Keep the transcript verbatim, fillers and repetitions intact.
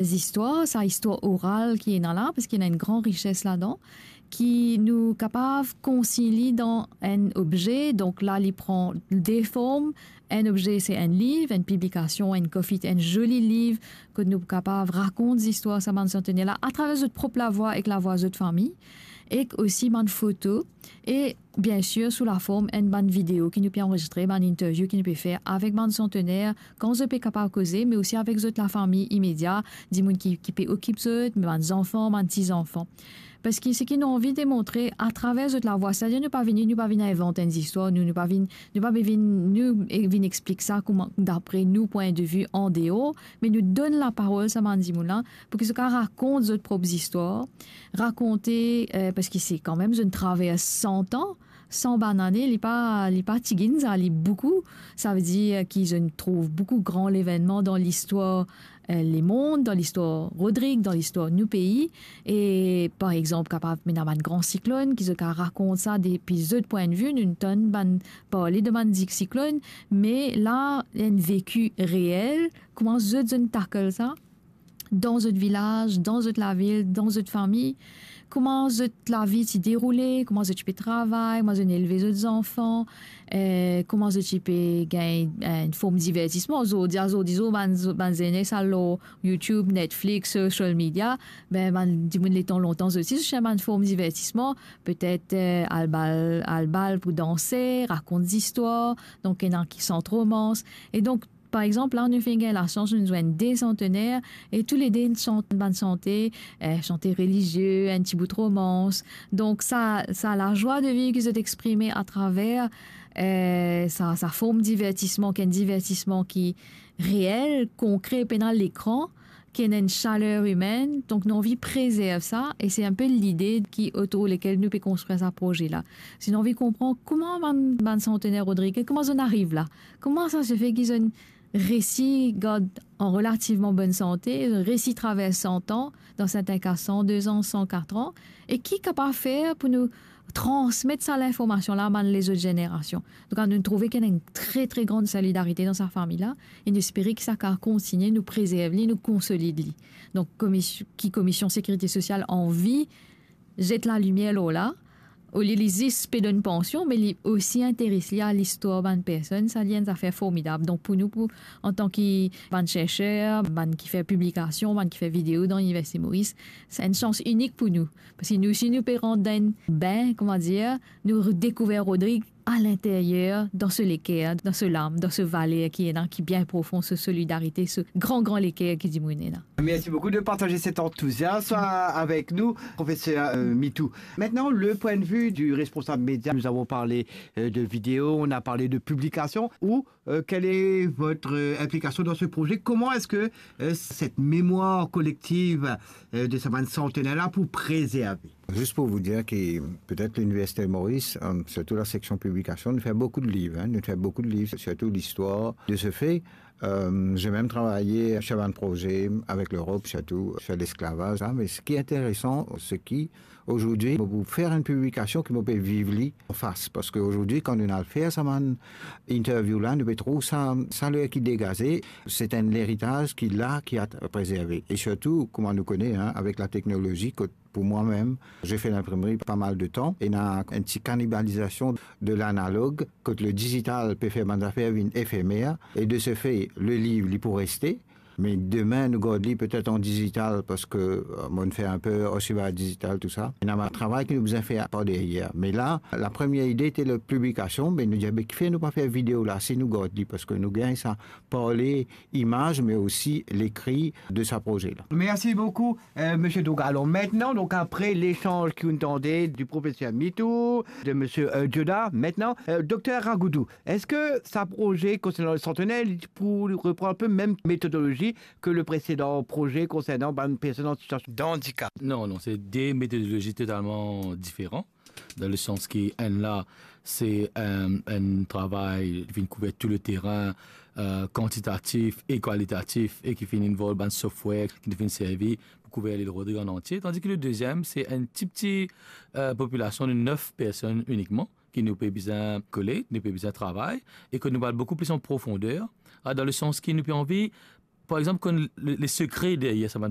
zistwar, sa istwar oral ki ena la, parski ena enn gran rises ladan, ki nou kapav konsign li dan enn obze. Donk la, li pran de form. Enn obze, se enn liv, enn piblikasion, enn kofit, enn zoli liv, kot nou kapav rakont zistwar sa bann santener la atraver zot prop lavwa ek lavwa zot fami, ek osi bann foto, e biensir sou laform enn bann video ki nou pe anrezistre, bann interview ki nou pe fer avek bann santener, kan zot pe kapav koze, me osi avek zot lafami imedia, dimoun ki, ki pe okip zot, bann zanfan, bann ti zanfan. Parski seki nou anvi demontre atraver zot lavwa, setadir nou pa vini, nou pa vinn invant enn zistwar, nou, nou pa vinn, nou pa vinn, nou, e, vinn explik sa kouma, dapre nou pwin de vi an deor, me nou donn laparol sa bann dimoun la, pou ki zot kapav rakont zot prop zistwar, rakonte, eh, parski se kanmem, zot inn travers san an, san bann ane, li pa, li pa tigit sa, li boukou. Savedir ki zot inn trouv boukou gran levennman dan listwar, eh, lemond, dan listwar Rodrig, dan listwar nou pei. E par exanp, kapav ena bann gran siklonn, ki zot kapav rakont sa depi zot pwin de vi, nou tann bann parle de bann siklonn, me la, enn veki reel, kouma zot, zot inn tackle sa dan zot vilaz, dan zot lavil, dan zot fami, kouma zot lavi ti deroule, kouma zot ti pe travay, kouma zot inn elve zot zanfan, eh, kouma zot ti pe gagn, eh, enn form divertisman. Zordi, zordi zour, bann, bann zenes al lor YouTube, Netflix, social media, be, bann dimoun letan lontan, zot osi, zot ti ena bann form divertisman, petet, eh, al bal, al bal pou danse, rakont zistwar, donk ena ki sant romans. E donk, par exanp, la, nou finn gagn lasans, nou zwenn de santener, e toulede inn sant bann sante, eh, sante relizie, enn ti bout romans. Donk, sa, sa lazwa de viv ki zot exprime atraver, eh, sa, sa form divertisman, ki enn divertisman ki reel, konkre, pena lekran, ki ena enn saler imenn. Donk, nou anvi prezerv sa, e se enn pe lide ki otour lekel nou pe konstrir sa proze la. Si nou anvi konpran kouma bann, bann santener Rodrig, kouma zot inn ariv la, kouma sa se fer ki zot inn resi gard an relativman bonn sante, resi travers san an, dan sertin ka san de an, san kat an, e ki kapav fer pou nou transmet sa linformasion la a bann lezot zenerasion. Donk, nou trouve ki ena enn tre, tre gran solidarite dan sa fami la, e nou espere ki sa kapav kontigne, nou prezerv li, nou konsolid li. Donk, komis-, ki Komision Sekirite Sosial anvi zet lalimier lor la, olie li zis pe donn pansion, me li osi interes li a listwar bann personn, sa li enn zafer formidab. Donk, pou nou, pou, antan ki bann serser, bann ki fer piblikasion, bann ki fer video dan Liniversite Moris, se enn sans inik pou nou. Parski nou, si nou pe rant dan enn bin, kouma dir, nou dekouver Rodrig a linteryer, dan so leker, dan so lam, dan so valer ki ena, ki bien profon, so solidarite, so gran, gran leker ki dimoun ena. Merci beaucoup de partager cet enthousiasme avec nous, professeur, euh, Mitou. Maintenant, le point de vue du responsable média. Nous avons parlé, euh, de vidéo, on a parlé de publication. Ou, euh, quelle est votre, euh, implication dans ce projet ? Comment est-ce que, euh, cette mémoire collective, euh, de sa bann santener la pou prezerve ? Zis pou vous dire que peut-être l'Université Maurice, euh, surtout la section publication, nous fait beaucoup de livres, hein, nous fait beaucoup de livres, surtout l'histoire de ce fait. Euh, j'ai même travaillé sur un projet avec l'Europe, surtout sur l'esclavage, hein, mais ce qui est intéressant, c'est qu'aujourd'hui, pour faire une publication, que vous pouvez vivre en face. Parce qu'aujourd'hui, quand on a fait sa bann interview la, nou pe trouv sa, sa ler ki degaze, c'est un héritage qui là, qui a préservé. Et surtout, kouma nou kone, hein, avec la technologie, que pour moi-même, j'ai fait l'imprimerie pas mal de temps, ena enn ti cannibalisation de l'analogue, kot le digital pe fer bann zafer vinn efemer, e de ce fait, le liv, li pou reste, me demin, nou gard li petet an digital, parski, euh, mo'nn fer inpe osi par digital, tou sa. Ena bann travay ki nou bizin fer par deryer. Me la, la première idée était la publication, me nou dir, be, kifer nou pa fer video la, si nou gard li, parski nou gagn sa par le imaz, me osi lekri de sa proze la. Merci beaucoup, euh, Monsieur Doug. Alors maintenant, donc après l'échange ki nou tande du professeur Mitou, de Monsieur, euh, Dioda, maintenant, euh, Docteur Ragoudou, est-ce que sa proze konsernan le santener, li pou repran inpe mem metodolozi ke le presedan proze konsernan bann personn an sitiasion d'andikap? Non, non, se de metodolozi totalman diferan. Dan le sans ki enn la, se, euh, enn travay ki vinn kouver tou le terin, euh, kantitatif e kalitatif, e ki finn involve bann software ki nou finn servi pou kouver Lil Rodrig an antie. Tandis ki le deziem, se enn ti, ti, euh, popilasion de nef personn inikman, ki nou pe bizin kole, nou pe bizin travay, e ke nou pe al boukou plis an profonder, a, dan le sans ki nou pe anvi, par exanp, konn le, le sekre deryer sa bann